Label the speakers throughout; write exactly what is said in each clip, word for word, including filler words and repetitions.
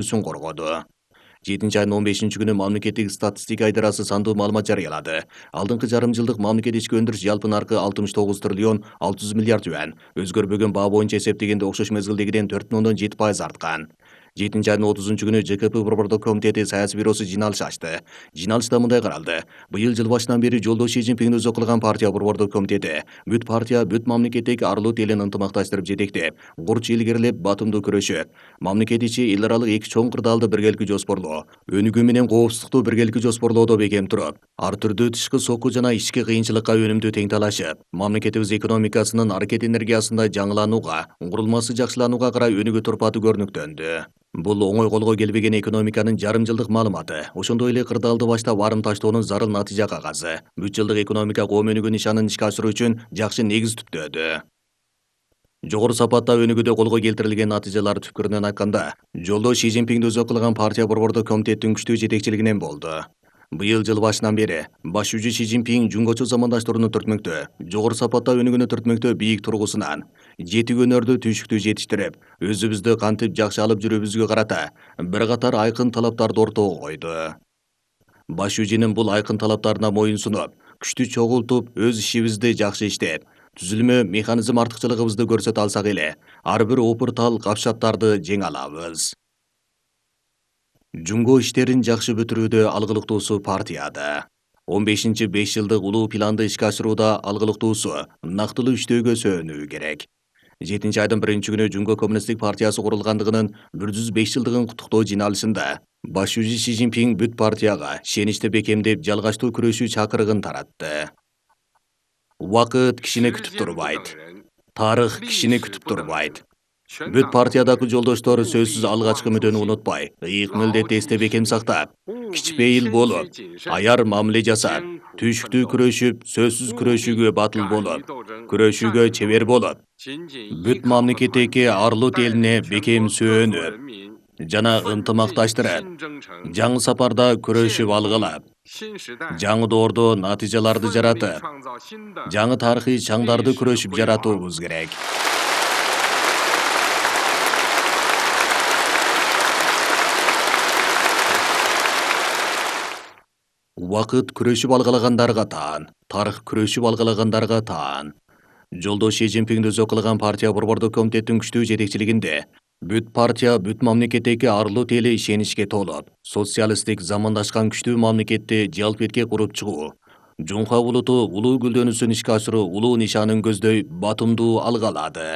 Speaker 1: мүддөсүн коргоду. жетинчи айдын он бешинчи күнү мамлекеттик статистика идарасы сандуу маалымат жарыялады. Алдыңкы жарым жылдык мамлекет ички өндүрүш жалпы наркы алтымыш тогуз триллион алты жүз миллиард юань, өзгөрбөгөн баа боюнча эсептегенде окшош мезгилдегиден төрт бүтүн ондон жети пайыз арткан. жетинчи айдын отузунчу күнү ЖКП Борбордук комитети саясий бюросу жыйналыш ачты. Жыйналышта мындай каралды. Быйыл жыл башынан бери жолдош Си Цзиньпиңди өзү кылган партия Борбордук комитети бүт партия бүт мамлекеттеги арлуу элин ынтымакташтырып жетектеп, курч илгерилеп, батымдуу көрөшөт. Мамлекет ичи эл аралык эки чоң кырдаалды биргеликти жоспорлоо, өнүгүү менен коопсуздукту биргеликти жоспорлоодо бекем туруп, ар түрдүү тышкы сокку жана ички кыйынчылыкка өнүмдүү тең талашып, мамлекетибиз экономикасынын аракет энергиясында жаңыланууга, курулмасы жакшыланууга карай өнүгүү турпаты көрүнүктөндү. Бул оңой колго келбеген экономиканын жарым жылдык маалыматы, ошондой эле кырдаалды баштап арым таштоонун зарыл натыйжа кагазы, бүт жылдык экономика коом өнүгүү нишанын ишке ашыруу үчүн жакшы негиз түптөөдү. Жогору сапатта өнүгүүдө колго келтирилген натыйжалар түпкүрүнөн айтканда, жолдош Си Цзиньпиңди өзү кылган партия Борбордук комитеттин күчтүү жетекчилигинен болду. Быйыл жыл башынан бери башчы Си Цзиньпиң жумгочу замандаштарына түртмөктө, жогору сапатта өнүгүүнү түртмөктө бийик тургусунан жети өнөрдү түйшүктүү жетиштирип, өзүбүздү кантип жакшы алып жүрүүбүзгө карата бир катар айкын талаптарды ортого койду. Башчынын бул айкын талаптарына моюн сунуп, күчтү чогултуп, өз ишибизди жакшы иштеп, түзүлмө механизм артыкчылыгыбызды көрсөтө алсак эле, ар бир опуртал капшаттарды жеңе алабыз. Жумго иштерин жакшы бүтүрүүдө алгылыктуусу партияда. он бешинчи беш жылдык улуу планды ишке ашырууда алгылыктуусу нактылуу иштөөгө сөөнүү керек. жетинчи айдын биринчи күнү Жумго коммунисттик партиясы курулгандыгынын бир жүз беш жылдыгын куттуктоо жыйналышында башчы Си Цзиньпиң бүт партияга шеничти бекемдеп жалгачтуу күрөшүү чакырыгын таратты. Убакыт кишини күтүп турбайт. Тарых кишини күтүп турбайт. Бүт партиядагы жолдоштор сөзсүз алгачкы мүдөнү унутпай, ыйык милдетти эсте бекем сактап, кичпейил болуп, аяр мамиле жасап, түйшүктүү күрөшүп, сөзсүз күрөшүүгө батыл болуп, күрөшүүгө чебер болуп, бүт мамлекеттеги арлуу элине бекем сөөнүп жана ынтымакташтырып, жаңы сапарда күрөшүп алгылап, жаңы доордо натыйжаларды жаратып, жаңы тарыхый чаңдарды күрөшүп жаратуубуз керек. Убакыт күрөшүп алгалагандарга таан, тарых күрөшүп алгалагандарга таан. Жолдош Си Цзиньпиңди өзү кылган партия Борбордук комитеттин күчтүү жетекчилигинде бүт партия бүт мамлекеттеги арлуу эли ишеничке толуп, социалисттик замандашкан күчтүү мамлекетти жалпетке куруп чыгуу, Жумха булуту улуу гүлдөнүүсүн ишке ашыруу улуу нишанын көздөй батымдуу алга алады.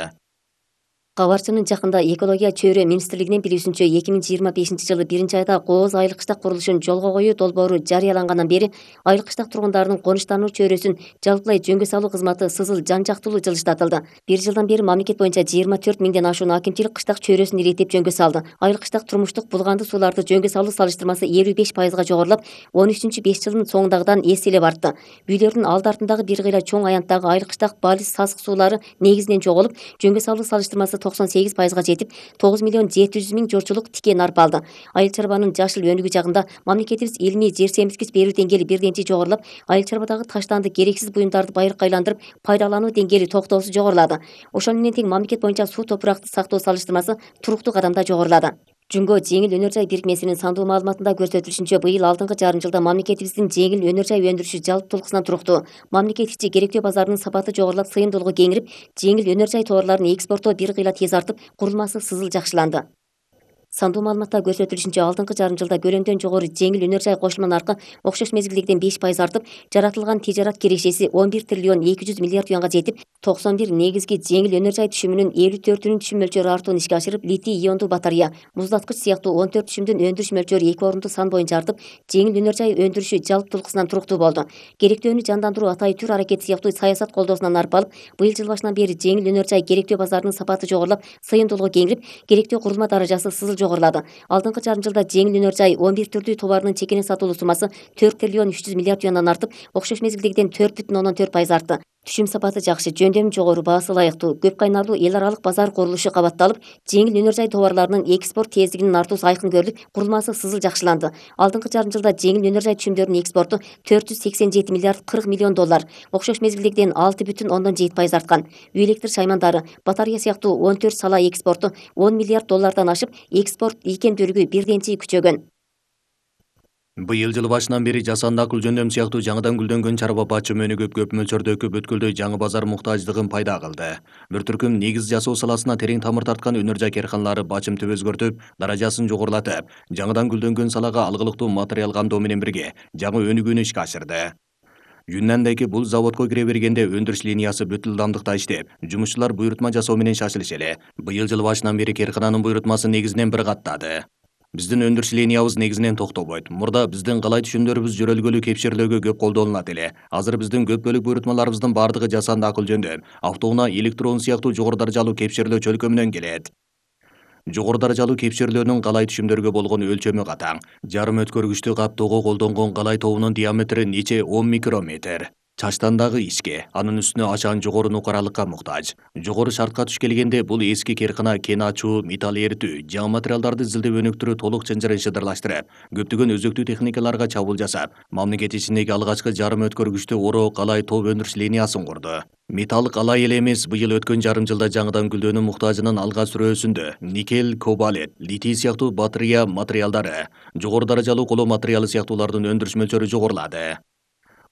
Speaker 2: Кабарчынын жакында экология чөйрө министрлигинин билүүсүнчө эки миң жыйырма бешинчи жылы биринчи айда Кооз айыл кыштак курулушун жолго коюу долбоору жарыялангандан бери айыл кыштак тургундарынын конуштануу чөйрөсүн жалпылай жөнгө салуу кызматы сызыл жан жактуулуу жылыштатылды. Бир жылдан бери мамлекет боюнча жыйырма төрт миңден ашуун акимчилик кыштак чөйрөсүн иреттеп жөнгө салды. Айыл кыштак турмуштук булганды сууларды жөнгө салуу салыштырмасы элүү беш пайызга жогорулап, он үчүнчү беш жылдын соңундагыдан эс элеп артты. Үйлөрдүн алды артындагы бир кыйла чоң аянттагы айыл кыштак балис сасык суулары негизинен жоголуп, жөнгө салуу салыштырмасы токсон сегиз пайызга жетип, тогуз миллион жети жүз миң журчулук тикен арпа алды. Айыл чарбанын жашыл өнүгүү жагында мамлекетибиз илимий жер семирткич берүү деңгээли бирденчи жогорулап, айыл чарбадагы таштанды керексиз буюмдарды байыркка айландырып, пайдалануу деңгээли токтоосуз жогорулады. Ошону менен тең мамлекет боюнча суу топуракты сактоо салыштырмасы туруктуу кадамда жогорулады. Жумго жеңил өнөр жай бирикмесинин сандуу маалыматында көрсөтүлүшүнчө, быйыл алдыңкы жарым жылда мамлекетибиздин жеңил өнөр жай өндүрүшү жалпытуулуксунан туруктуу. Мамлекет ичи керектөө базарынын сапаты жогорулап, сыйымдуулугу кеңирип, жеңил өнөр жай товарларын экспорттоо бир кыйла тез артып, курулмасы сызыл жакшыланды. Сандуу маалыматта көрсөтүлүшүнчө, алдыңкы жарым жылда көлөмдөн жогору жеңил өнөр жай кошулма наркы окшош мезгилдегиден беш пайыз артып, жаратылган тижарат кирешеси он бир триллион эки жүз миллиард юанга жетип, токсон бир негизги жеңил өнөр жай түшүмүнүн элүү төртүнүн түшүм мөлчөрү артуун ишке ашырып, литий иондуу батарея, муздаткыч сыяктуу он төрт түшүмдүн өндүрүш мөлчөрү эки орунду сан боюнча артып, жеңил өнөр жай өндүрүшү жалпытуулуксунан туруктуу болду. Керектөөнү жандандыруу, атайы түр аракети сыяктуу саясат колдоосунан арып алып, быйыл жыл башынан бери жеңил өнөр жай керектөө базарынын сапаты жогорулап, сыйымдуулугу кеңирип, керектөө курулма даражасы сызыл жогорулады. Алдыңкы жарым жылда жеңил өнөр жай он бир түрдүү товарынын чекене сатылуу суммасы төрт триллион үч жүз миллиард юандан артып, окшош мезгилдегиден төрт бүтүн ондон төрт пайыз артты. Түшүм сапаты жакшы, жөндөмү жогору, баасы ылайыктуу, көп кайнарлуу эл аралык базар курулушу кабатталып, жеңил өнөр жай товарларынын экспорт тездигинин артуусу айкын көрүлүп, курулмасы сызыл жакшыланды. Алдыңкы жарым жылда жеңил өнөр жай түшүмдөрүнүн экспорту төрт жүз сексен жети миллиард кырк миллион доллар, окшош мезгилдегиден алты бүтүн ондон жети пайыз арткан. Үй электр шаймандары, батарея сыяктуу он төрт сала экспорту он миллиард доллардан ашып, экспорт ийкемдүүлүгү бирден-чий күчөгөн.
Speaker 1: Быйыл жыл башынан бери жасанды акыл жөндөм сыяктуу жаңыдан гүлдөнгөн чарба баа чөмөнү көп көп мөлчөрдө өкүп өткөлдөй жаңы базар муктаждыгын пайда кылды. Бир түркүм негиз жасоо саласына терең тамыр тарткан өнөр жай карканалары бачым түп өзгөртүп, даражасын жогорулатып, жаңыдан гүлдөнгөн салага алгылыктуу материал камдоо менен бирге жаңы өнүгүүнү ишке ашырды. Юннандагы бул заводко кире бергенде өндүрүш линиясы бүт ылдамдыкта иштеп, жумушчулар буйрутма жасоо менен шашылыш эле. Быйыл жыл башынан бери каркананын буйрутмасы негизинен бир каттады. Биздин өндүрүш линиябыз негизинен токтобойт. Мурда биздин калай түшүмдөрүбүз жөрөлгөлүү кепширлөөгө көп колдонулат эле. Азыр биздин көп бөлүк буйрутмаларыбыздын бардыгы жасанды акыл жөндөм, автоунаа, электрон сыяктуу жогору даражалуу кепширлөө чөлкө менен келет. Жогору даражалуу кепширлөөнүн калай түшүмдөргө болгон өлчөмү катаң. Жарым өткөргүчтү каптоого колдонгон калай тобунун диаметри нече он микрометр. Чачтандагы ишке, анын үстүнө ачаан жогору нукаралыкка муктаж. Жогору шартка туш келгенде бул эски каркана кен ачуу, металл эритүү, жаңы материалдарды изилдеп өнүктүрүү толук чынжырын шыдырлаштырып, көптөгөн өзөктүү техникаларга чабуул жасап, мамлекет ичиндеги алгачкы жарым өткөргүчтү ороо калай тоо өндүрүш линиясын курду. Металл калай эле эмес, быйыл өткөн жарым жылда жаңыдан гүлдөөнүн муктажынын алга сүрөөсүндө никель, кобальт, литий сыяктуу батарея материалдары, жогору даражалуу коло материалы сыяктуулардын өндүрүш мөлчөрү жогорулады.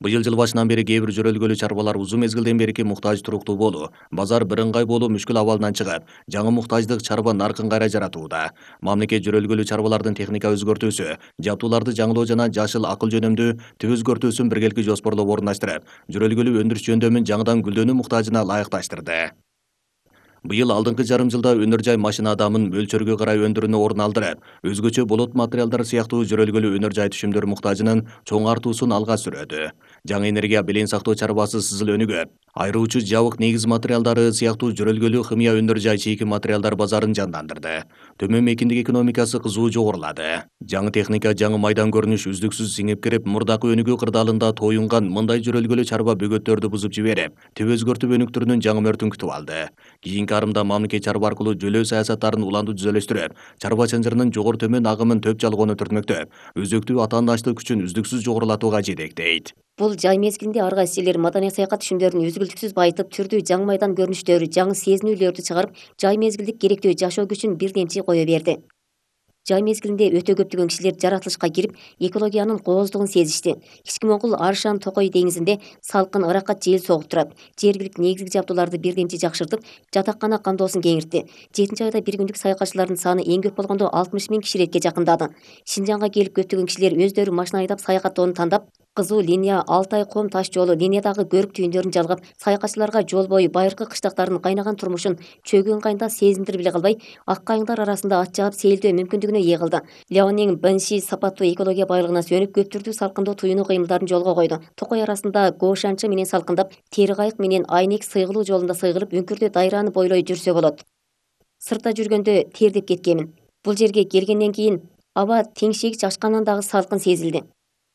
Speaker 1: Быйыл жыл башынан бери кээ бир жөрөлгөлүү чарбалар узун мезгилден берки муктаж туруктуу болуу, базар бирыңгай болуу мүшкүл абалынан чыгып, жаңы муктаждык чарба наркын кайра жаратууда. Мамлекет жөрөлгөлүү чарбалардын техника өзгөртүүсү, жабдууларды жаңылоо жана жашыл акыл жөнөмдүү түп өзгөртүүсүн биргеликти жоспорлоп орундаштырып, жөрөлгөлүү өндүрүш жөндөмүн жаңыдан гүлдөөнү муктажына ылайыкташтырды. Быйыл алдыңкы жарым жылда өнөр жай машина адамын мөлчөргө карай өндүрүүнү орун алдырып, өзгөчө болот материалдар сыяктуу жөрөлгөлүү өнөр жай түшүмдөр муктажынын чоң артуусун алга сүрөдү. Жаңы энергия белең сактоо чарбасы сызыл өнүгөп, айыруучу жабык негиз материалдары сыяктуу жөрөлгөлүү химия өнөр жай чийки материалдар базарын жандандырды. Төмөн мейкиндик экономикасы кызуу жогорулады. Жаңы техника, жаңы майдан көрүнүш үздүксүз сиңип кирип, мурдакы өнүгүү кырдаалында тоюнган мындай жөрөлгөлүү чарба бөгөттөрдү бузуп жиберип, түп өзгөртүп өнүктүрүүнүн жаңы мөртүн күтүп алды. Кийинки арымда мамлекет чарба аркылуу жөлөө саясаттарын уланду түзөлөштүрүп, чарба чынжырынын жогору төмөн агымын төп жалгоону түртмөктөп, өзөктүү атаандаштык күчүн үздүксүз жогорулатууга жетектейт.
Speaker 2: Бул жай мезгилинде ар кайсы элдер маданий саякат түшүмдөрүн үзгүлтүксүз байытып, түрдүү жаңы майдан көрүнүштөрү, жаңы сезинүүлөрдү чыгарып, жай мезгилдик керектүү жашоо күчүн бирден-чий кое берди. Жай мезгилинде өтө көптөгөн кишилер жаратылышка кирип, экологиянын кооздугун сезишти. Кички Моңгол Аршан Токой деңизинде салкын ыракат жел согуп турат. Жергиликтүү негизги жабдууларды бирден-чий жакшыртып, жатакана камдоосун кеңиртти. жетинчи айда бир күндүк саякатчылардын саны эң көп болгондо алтымыш миң кишилекке жакындады. Шинжаңга келип көптөгөн кишилер өздөрү машина айдап саякаттоону тандап, Кызуу линия, Алтай ком таш жолу, линиядагы көрүк түйүндөрүн жалгап, саякатчыларга жол бою байыркы кыштактардын кайнаган турмушун чөгөн кайында сезиндирип эле калбай, ак кайыңдар арасында ат жаап сейилдөө мүмкүндүгүнө ээ кылды. Леонин Бенши сапаттуу экология байлыгына сүйөнүп, көп түрдүү салкындоо туюну кыймылдарын жолго койду. Токой арасында Гошанчы менен салкындап, Тери кайык менен Айнек сыйгылуу жолунда сыйгылып, үңкүрдө дайраны бойлой жүрсө болот. Сыртта жүргөндө тердеп кеткенмин. Бул жерге келгенден кийин аба теңшегич ачкандан дагы салкын сезилди.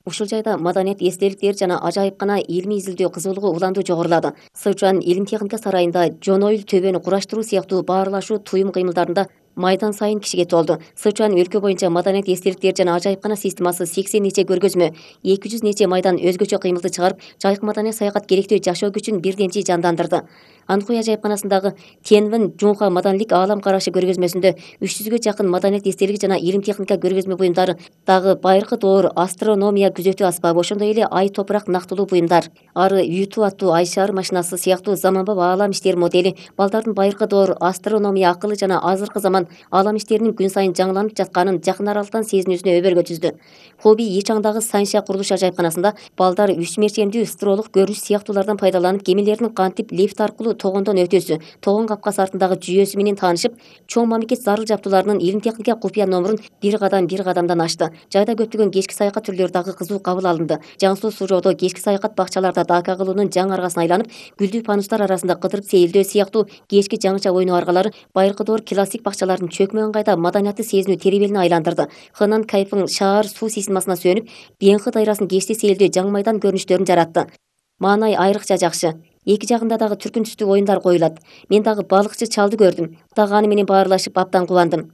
Speaker 2: Ушул жайда маданият эстеликтер жана ажайыпкана илмий изилдөө кызуулугу уланду жогорулады. Сычуан илим техника сарайында жонойыл төбөнү кураштыруу сыяктуу баарлашуу туюм кыймылдарында майдан сайын кишиге толду. Сычуан өлкө боюнча маданият эстеликтер жана ажайыпкана системасы сексен нече көргөзмө, эки жүз нече майдан өзгөчө кыймылды чыгарып, жайык маданий саякат керектүү жашоо күчүн бирден-чий жандандырды. Анкуй ажайыпканасындагы Тенвин Жунха маданилик аалам карашы көргөзмөсүндө үч жүзгө жакын маданият эстелиги жана илим техника көргөзмө буюмдары, дагы байыркы доор астрономия күзөтүү аспабы, ошондой эле ай топурак нактылуу буюмдар, ары Юту аттуу ай шаар машинасы сыяктуу заманбап аалам иштери модели, балдардын байыркы доор астрономия акылы жана азыркы заман аалам иштеринин күн сайын жаңыланып жатканын жакын аралыктан сезинүүсүнө өбөлгө түздү. Хоби Ичаңдагы Санша курулуш ажайыпканасында балдар үч мерчемдүү стролук көрүнүш сыяктуулардан пайдаланып, кемелердин кантип лифт аркылуу тогондон өтүүсү, тогон капкасы артындагы жүйөсү менен таанышып, чоң мамлекет зарыл жабдууларынын илим техника купуя номурун бир кадам бир кадамдан ачты. Жайда көптөгөн кечки саякат түрлөрү дагы кызуу кабыл алынды. Жаңсуу суу жоодо кечки саякат бакчаларда дака кылуунун жаңы аргасын айланып, гүлдүү панустар арасында кыдырып сейилдөө сыяктуу кечки жаңыча ойноо аргалары байыркы доор классик бакчалардын чөкмө ыңгайда маданиятты сезинүү теребелине айландырды. Хынан Кайфың шаар суу системасына сүйөнүп, Бенхы дайрасын кечти сейилдөө жаңы майдан көрүнүштөрүн жаратты. Маанай айрыкча жакшы. Эки жагында дагы түркүнчүстүү оюндар коюлат. Мен дагы балыкчы чалды көрдүм. Дагы аны менен баарлашып абдан кубандым.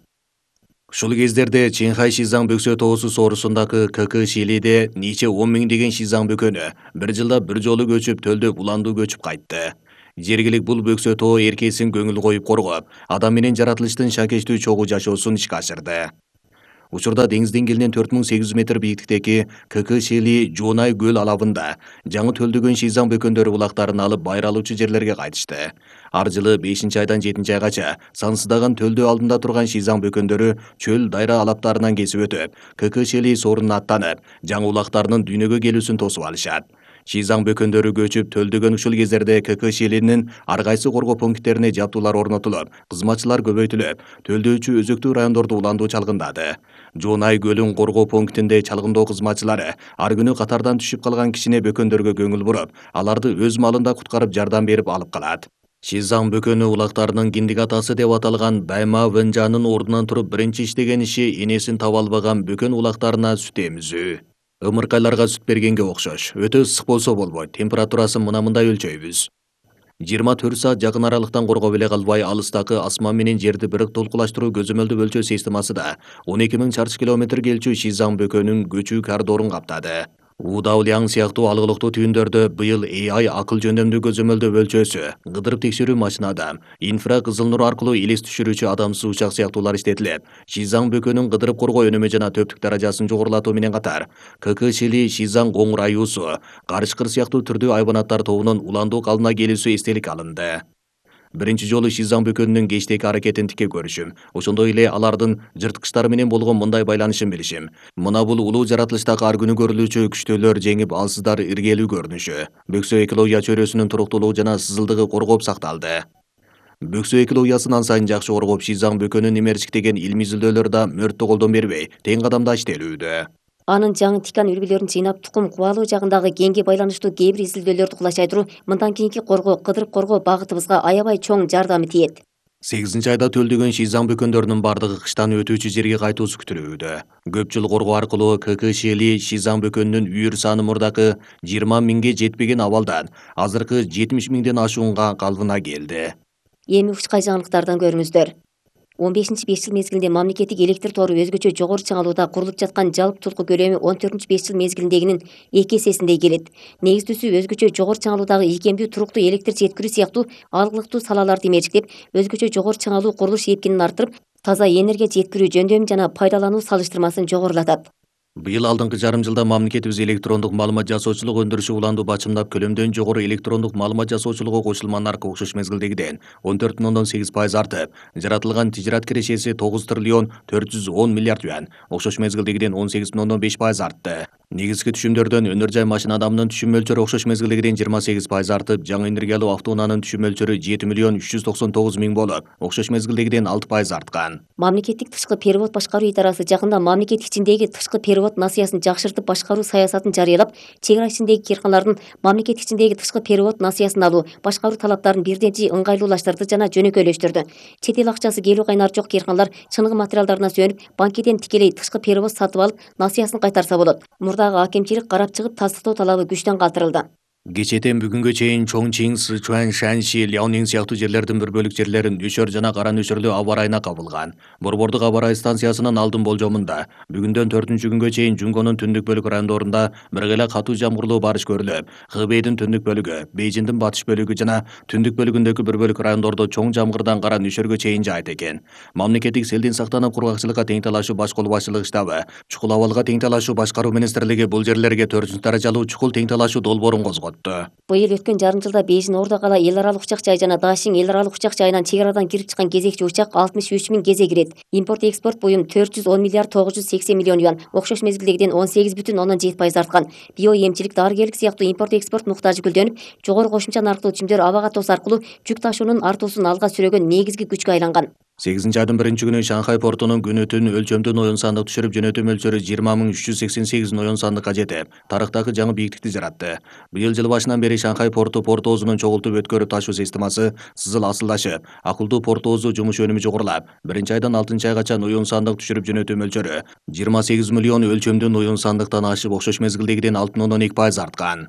Speaker 1: Ушул кездерде Чэнхай Шизаң бөксө тоосу соорусундагы КК Шилиде нече он миңдеген шизаң бөкөнү бир жылда бир жолу көчүп төлдөп уландуу көчүп кайтты. Жергилик бул бөксө тоо эркесин көңүл коюп коргоп, адам менен жаратылыштын шакештүү чогуу жашоосун ишке ашырды. Учурда деңиз деңгээлинен төрт миң сегиз жүз метр бийиктиктеги КК Шили Жуонай көл алабында жаңы төлдөгөн шизаң бөкөндөрү булактарын алып байралуучу жерлерге кайтышты. Ар жылы бешинчи айдан жетинчи айгача сансыздаган төлдөө алдында турган шизаң бөкөндөрү чөл дайра алаптарынан кесип өтүп, КК Шили сорунуна аттанып, жаңы улактарынын дүйнөгө келүүсүн тосуп алышат. Шизаң бөкөндөрү көчүп төлдөгөн ушул кездерде КК Шилинин ар кайсы коргоо пункттерине жабдуулар орнотулуп, кызматчылар көбөйтүлүп, төлдөөчү өзөктүү райондорду уландуу чалгындады. Жуонай көлүн коргоо пунктинде чалгындоо кызматчылары ар күнү катардан түшүп калган кичине бөкөндөргө көңүл буруп, аларды өз маалында куткарып жардам берип алып калат. Шизаң бөкөнү улактарынын киндик атасы деп аталган Байма Венжанын ордунан туруп биринчи иштеген иши энесин таба албаган бөкөн улактарына сүт эмизүү. Ымыркайларга сүт бергенге окшош. Өтө ысык болсо болбойт. Температурасын мына мындай өлчөйбүз. жыйырма төрт саат жакын аралыктан коргоп эле калбай, алыстагы асман менен жерди бирок толкулаштыруу көзөмөлдү өлчөө системасы да он эки миң чарчы километр келчү шизаң бөкөнүн көчүү коридорун каптады. Удауляң сыяктуу алгылыктуу түйүндөрдө быйыл А I акыл жөндөмдүү көзөмөлдөө өлчөөсү, кыдырып текшерүү машинада, инфра кызыл нур аркылуу элес түшүрүүчү адамсыз учак сыяктуулар иштетилет. Шизаң бөкөнүн кыдырып коргоо өнүмү жана төптүк даражасын жогорулатуу менен катар, КК Шили Шизаң коңур аюусу, карышкыр сыяктуу түрдүү айбанаттар тобунун уландуу калына келүүсү эстелик алынды. Биринчи жолу шизаң бөкөнүнүн кечтеги аракетин тике көрүшүм. Ошондой эле алардын жырткычтары менен болгон мындай байланышын билишим. Мына бул улуу жаратылыштагы ар күнү көрүлүүчү күчтөөлөр жеңип, алсыздар иргелүү көрүнүшү. Бөксө экология чөйрөсүнүн туруктуулугу жана сызылдыгы коргоп сакталды. Бөксө экологиясын ан сайын жакшы коргоп, шизаң бөкөнүн имерчиктеген илмий изилдөөлөр да мөрттү колдон бербей, тең кадамда иштелүүдө.
Speaker 2: Анын жаңы тикан үлгүлөрүн жыйнап, тукум кубалуу жагындагы кеңге байланыштуу кээ бир изилдөөлөрдү кулачай туруп, мындан кийинки коргоо, кыдырып коргоо багытыбызга аябай чоң жардамы тиет.
Speaker 1: сегизинчи айда төлдөгөн шизаң бөкөндөрүнүн бардыгы кыштан өтүүчү жерге кайтуусу күтүлүүдө. Көп жыл коргоо аркылуу КК Шили шизаң бөкөнүнүн үйүр саны мурдакы жыйырма миңге жетпеген абалдан азыркы жетимиш миңден ашуунга калыбына келди.
Speaker 2: Эми ушкай жаңылыктардан көрүңүздөр. он бешинчи беш жыл мезгилинде мамлекеттик электр тору өзгөчө жогору чыңалууда курулуп жаткан жалпы толку көлөмү он төртүнчү беш жыл мезгилиндегинин эки эсесиндей келет. Негиздүүсү өзгөчө жогору чыңалуудагы ийкемдүү туруктуу электр жеткирүү сыяктуу алгылыктуу салаларды имерчиктеп, өзгөчө жогору чыңалуу курулуш эркинин арттырып, таза энергия жеткирүү жөндөмү жана пайдалануу салыштырмасын жогорулатат.
Speaker 1: Быйыл алдыңкы жарым жылда мамлекетибиз электрондук маалымат жасоочулук өндүрүшү уланду бачымдап, көлөмдөн жогору электрондук маалымат жасоочулукка кошулма наркы окшош мезгилдегиден он төрт бүтүн ондон сегиз пайыз артып, жаратылган тижират кирешеси тогуз триллион төрт жүз он миллиард юан, окшош мезгилдегиден он сегиз бүтүн ондон беш пайыз артты. Негизги түшүмдөрдөн өнөр жай машина адамынын түшүм мөлчөрү окшош мезгилдегиден жыйырма сегиз пайыз артып, жаңы энергиялуу автоунаанын түшүм мөлчөрү жети миллион үч жүз токсон тогуз миң болуп, окшош мезгилдегиден алты пайыз арткан.
Speaker 2: Мамлекеттик тышкы перевод башкаруу идарасы жакында мамлекет ичиндеги тышкы перевод насыясын жакшыртып башкаруу саясатын жарыялап, чек ара ичиндеги кыйрканалардын мамлекет ичиндеги тышкы перевод насыясын алуу, башкаруу талаптарын бирден ыңгайлуулаштырды жана жөнөкөйлөштүрдү. Чет эл акчасы келүү кайнары жок кыйрканалар чыныгы материалдарына сүйөнүп, банкеден тикелей тышкы перевод сатып алып, насыясын кайтарса болот. Мурдагы акимчилик карап чыгып, тастыктоо талабы күчтөн калтырылды.
Speaker 1: Кечээден бүгүнгө чейин Чоңчиң, Сычуань, Шаньши, Лyaoning сыяктуу жерлердин бир бөлүк жерлери нөшөр жана кара нөшөрлүү аба ырайына кабылган. Борбордук аба ырайы станциясынын алдын болжомунда бүгүндөн төртүнчү күнгө чейин Жунгонун түндүк бөлүк райондорунда биргеле катуу жамгырлуу барыш көрүлүп, Хэбэйдин түндүк бөлүгү, Бейжиңдин батыш бөлүгү жана түндүк бөлүгүндөгү бир бөлүк райондордо чоң жамгырдан кара нөшөргө чейин жаайт экен. Мамлекеттик селден сактанып кургакчылыкка тең талашуу баш колу башчылыгы штабы, чукул абалга тең талашуу башкаруу министрлиги бул жерлерге төртүнчү даражалуу чукул тең талашуу долбоорун козготту.
Speaker 2: Быйыл өткөн жарым жылда Бейжин Ордо кала эл аралык учак жай жана Дашиң эл аралык учак жайынан чек арадан кирип чыккан кезекчи учак алтымыш үч миң кезе кирет. Импорт экспорт буюм төрт жүз он миллиард тогуз жүз сексен миллион юан, окшош мезгилдегиден он сегиз бүтүн ондон жети пайыз арткан. Био эмчилик, дарыгерлик сыяктуу импорт экспорт муктажы гүлдөнүп, жогору кошумча нарктуу чимдер аба катоосу аркылуу жүк ташуунун артуусун алга сүрөгөн негизги күчкө айланган.
Speaker 1: сегизинчи айдын биринчи күнү Шанхай портунун күнүтүн өлчөмдүү оюн сандык түшүрүп жөнөтүү мөлчөрү жыйырма миң үч жүз сексен сегиз оюн сандыкка жетип, тарыхтагы жаңы бийиктикти жаратты. Быйыл жыл башынан бери Шанхай порту портоозунун чогултуп өткөрүп ташуу системасы сызыл асылдашып, акылдуу портоозу жумуш өнүмү жогорулап, биринчи айдан алтынчы айгача оюн сандык түшүрүп жөнөтүү мөлчөрү жыйырма сегиз миллион өлчөмдүү оюн сандыктан ашып, окшош мезгилдегиден алты бүтүн ондон эки пайыз арткан.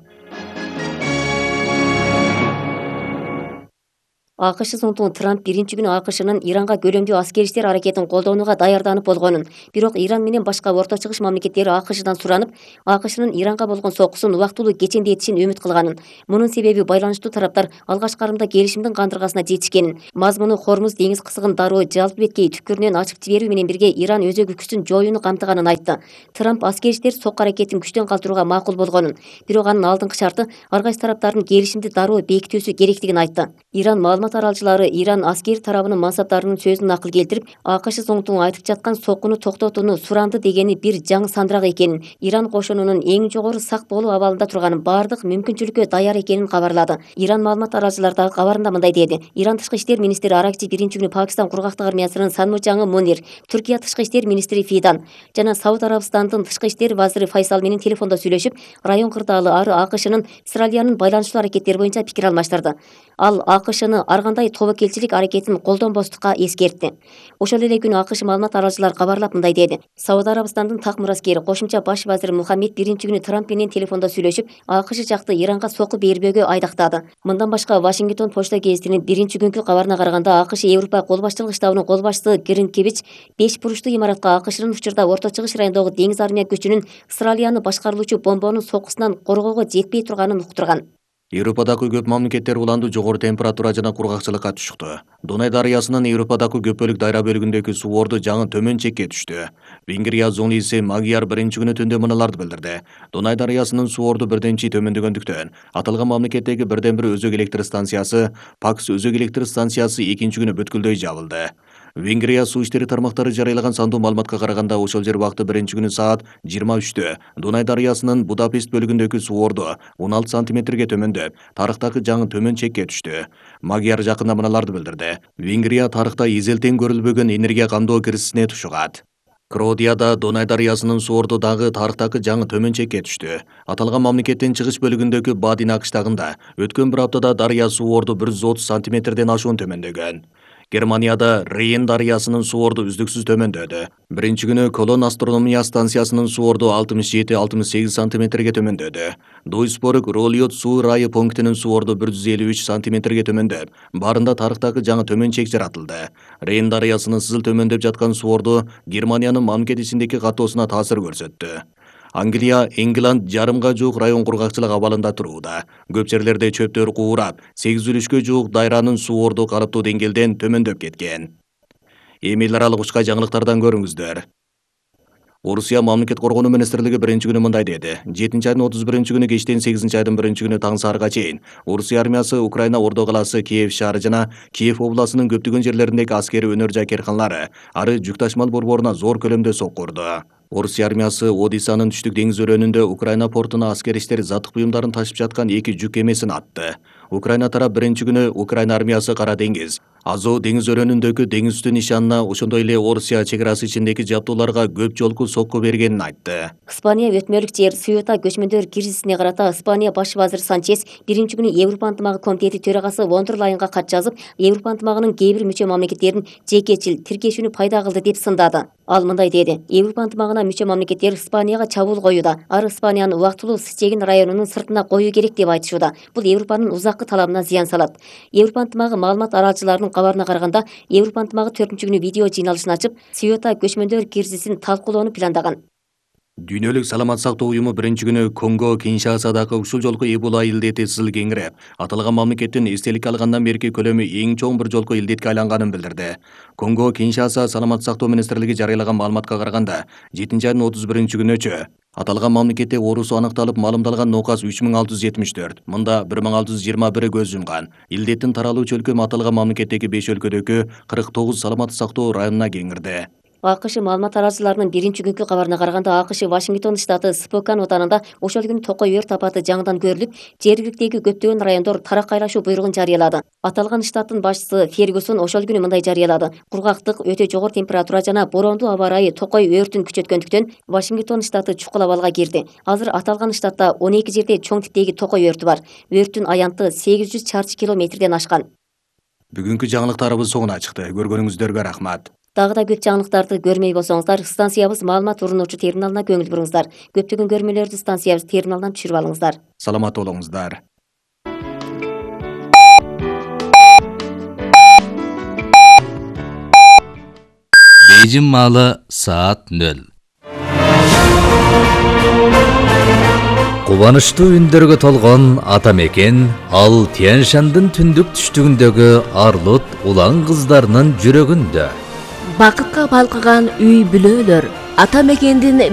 Speaker 2: АКШ соңтуң Трамп биринчи күнү АКШнын Иранга көлөмдүү аскери иштер аракетин колдонууга даярданып болгонун, бирок Иран менен башка Орто Чыгыш мамлекеттери АКШдан суранып, АКШнын Иранга болгон соккусун убактылуу кечендетишин үмүт кылганын. Мунун себеби байланыштуу тараптар алгач карымда келишимдин кандыргасына жетишкенин. Мазмуну Хормуз деңиз кысыгын дароо жалпы беткей түпкүрүнөн ачып жиберүү менен бирге Иран өзөгү күчүн жоюуну камтыганын айтты. Трамп аскери иштер сокку аракетин күчтөн калтырууга макул болгонун, бирок анын алдыңкы шарты ар кайсы тараптардын келишимди дароо бекитүүсү керектигин айтты. Иран маалымат аралчылары Иран аскери тарабынын мансаптарынын сөзүн накыл келтирип, АКШ соңтуң айтып жаткан соккуну токтотууну суранды дегени бир жаңы сандырак экенин, Иран кошунунун эң жогору сак болуу абалында турганын, баардык мүмкүнчүлүккө даяр экенин кабарлады. Иран маалымат аралчылары дагы кабарында мындай деди. Иран тышкы иштер министри Аракчи биринчи күнү Пакистан кургактык армиясынын санмучаңы Мунир, Түркия тышкы иштер министри Фидан жана Сауд Арабстандын тышкы иштер вазири Файсал менен телефондо сүйлөшүп, район кырдаалы ары АКШнын Израилянын байланыштуу аракеттери боюнча пикир алмаштырды. Ал АКШны ар кандай тобокелчилик аракетин колдонбостукка эскертти. Ошол эле күнү АКШ маалымат аралчылары кабарлап мындай деди. Сауд Арабстандын так мураскери кошумча баш вазири Мухаммед биринчи күнү Трамп менен телефондо сүйлөшүп, АКШ жакты Иранга сокку бербөөгө айдактады. Мындан башка Вашингтон почта гезитинин биринчи күнкү кабарына караганда, АКШ Европа кол башчылык штабынын кол башчысы Гринкевич беш буручтуу имаратка АКШнын учурда Орто Чыгыш районундагы деңиз армия күчүнүн Израилияны башкарылуучу бомбонун соккусунан коргоого жетпей турганын уктурган.
Speaker 1: Европадагы көп мамлекеттер уланду жогору температура жана кургакчылыкка түшүктү. Дунай дарыясынын Европадагы көп бөлүк дайра бөлүгүндөгү суу орду жаңы төмөн чекке түштү. Венгрия зонасы Магияр биринчи күнү түндө мыналарды билдирди. Дунай дарыясынын суу орду бирден чи төмөндөгөндүктөн, аталган мамлекеттеги бирден бир өзөк электр станциясы, Пакс өзөк электр станциясы экинчи күнү бүткүлдөй жабылды. Венгрия суу иштери тармактары жарыялаган сандуу маалыматка караганда, ошол жер убакыты биринчи күнү саат жыйырма үчтө Дунай дарыясынын Будапешт бөлүгүндөгү суу орду он алты сантиметрге төмөндөп, тарыхтагы жаңы төмөн чекке түштү. Магияр жакында мыналарды билдирди. Венгрия тарыхта эзелтен көрүлбөгөн энергия камдоо киризисине тушугат. Кроодияда Дунай дарыясынын суу орду дагы тарыхтагы жаңы төмөн чекке түштү. Аталган мамлекеттин чыгыш бөлүгүндөгү Бадин кыштагында өткөн бир аптада дарыя суу орду бир жүз отуз сантиметрден ашуун төмөндөгөн. Германияда Рейн дарыясынын суу орду үздүксүз төмөндөдү. Биринчи күнү Колон астрономия станциясынын суу орду алтымыш жети алтымыш сегиз сантиметрге төмөндөдү. Дуйсбург Ролиот суу ырайы пунктинин суу орду бир жүз элүү үч сантиметрге төмөндөп, баарында тарыхтагы жаңы төмөн чек жаратылды. Рейн дарыясынын сызыл төмөндөп жаткан суу орду Германиянын мамлекет ичиндеги каттоосуна таасир көрсөттү. Англия, England жарымга жуук район кургакчылык абалында турууда. Көп жерлерде чөптөр куурап, сегиз үлүшкө жуук дайранын суу орду калыптуу деңгээлден төмөндөп кеткен. Эми эл аралык учка жаңылыктардан көрүңүздөр. Орусия мамлекет коргонуу министрлиги биринчи күнү мындай деди. жетинчи айдын отуз биринчи күнү кечтен сегизинчи айдын биринчи күнү таң саарга чейин Орусия армиясы Украина Ордо калаасы, Киев шаары жана Киев областынын көптөгөн жерлериндеги аскери өнөр жай керканалары ары жүк ташмал борборуна зор көлөмдө сокку урду. Орусия армиясы Одиссанын түштүк деңиз өрөөнүндө Украина портуна аскер иштер заттык буюмдарын ташып жаткан эки жүк кемесин атты. Украина тарап биринчи күнү Украина армиясы Кара деңиз, Азов деңиз өрөөнүндөгү деңиз үстү нишанына, ошондой эле Орусия чек арасы ичиндеги жабдууларга көп жолку сокку бергенин айтты.
Speaker 2: Испания өтмөлүк жер Сюта көчмөндөр кризисине карата Испания баш вазири Санчес биринчи күнү Европа ынтымагы комитети төрагасы фон дер Лайенга кат жазып, Европа ынтымагынын кээ бир мүчө мамлекеттерин жекечил тиркешүүнү пайда кылды деп сындады. Ал мындай деди. Европа ынтымагына мүчө мамлекеттер Испанияга чабуул коюуда, ар Испаниянын убактылуу Сычегин районунун сыртына коюу керек деп айтышууда. Бул Европанын узаккы талабына зыян салат. Европа ынтымагы маалымат аралчыларынын кабарына караганда, Европа ынтымагы төртүнчү күнү видео жыйналышын ачып, Сюта көчмөндөр кризисин талкуулоону пландаган.
Speaker 1: Дүйнөлүк саламат сактоо уюму биринчи күнү Конго Киншасадагы ушул жолку Эбола илдети сызыл кеңиреп, аталган мамлекеттин эстеликке алгандан берки көлөмү эң чоң бир жолку илдетке айланганын билдирди. Конго Киншаса саламат сактоо министрлиги жарыялаган маалыматка караганда, жетинчи айдын отуз биринчи күнүчө аталган мамлекетте оорусу аныкталып маалымдалган нокас үч миң алты жүз жетимиш төрт, мында бир миң алты жүз жыйырма бири көз жумган. Илдеттин таралуучу өлкөмү аталган мамлекеттеги беш өлкөдөгү кырк тогуз саламат сактоо районуна кеңирди. АКШ маалымат аралчыларынын биринчи күнкү кабарына караганда, АКШ Вашингтон штаты Спокан отанында ошол күнү токой өрт апаты жаңыдан көрүлүп, жергиликтеги көптөгөн райондор тараккайлашуу буйругун жарыялады. Аталган штаттын башчысы Фергюсон ошол күнү мындай жарыялады. Кургактык, өтө жогору температура жана бороондуу аба ырайы токой өртүн күчөткөндүктөн Вашингтон штаты чукул абалга кирди. Азыр аталган штатта он эки жерде чоң типтеги токой өртү бар. Өрттүн аянты сегиз жүз чарчы километрден ашкан. Бүгүнкү жаңылыктарыбыз соңуна чыкты. Көргөнүңүздөргө рахмат.
Speaker 2: Дагы да көп жаңылыктарды көрмөй болсоңуздар, станциябыз маалымат урунуучу терминалына көңүл буруңуздар. Көптөгөн көрмөлөрдү станциябыз терминалынан түшүрүп алыңыздар.
Speaker 1: Саламат болуңуздар.
Speaker 3: Бейжин маалы саат нөл. Кубанычтуу үндөргө толгон ата мекен ал Тянь-Шандын түндүк түштүгүндөгү Арлут улан кыздарынын жүрөгүндө.
Speaker 4: Бакытка балкыган үй бүлөлөр ата мекендин